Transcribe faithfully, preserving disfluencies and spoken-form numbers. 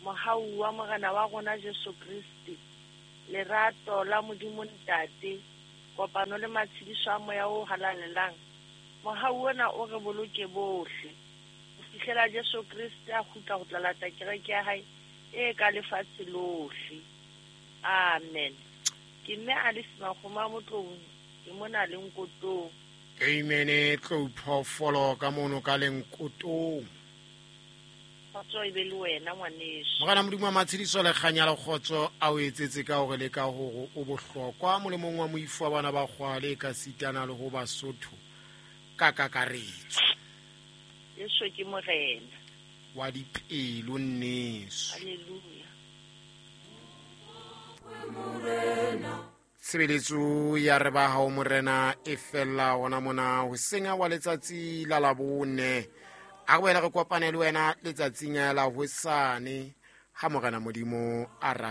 Mohau wa Morena wa rona Jesu Kriste, lerato la Modimo Ntate, kopano le matshediso a Moya o Halalelang, mohau ona o re boloke bohle ho fihlela Jesu Kriste a kgutla ho tla lata kereke ya hae e ka lefatshe lohle. Amen. Ke mme Alice Makgoma Motloung, ke mona le Nkotong. Amen. Tlou phoofolo ka mono ka Lenkotong. Kgotso e be le wena ngwaneso. Morena Modimo wa matshediso le kganya le kgotso a o etsetse ka hore le ka hore o bohlokwa molemong wa moifo wa bana ba kgwale ka sitana le ho Basotho ka kakaretso. Jesu ke Morena wa dipelo nneso. Haleluya. Tshebeletso ya re ba hao Morena e fella hona mona hoseng wa letsatsi la Labone. A re boele re kopane le wena letsatsing la hosane ha Morena Modimo a rata.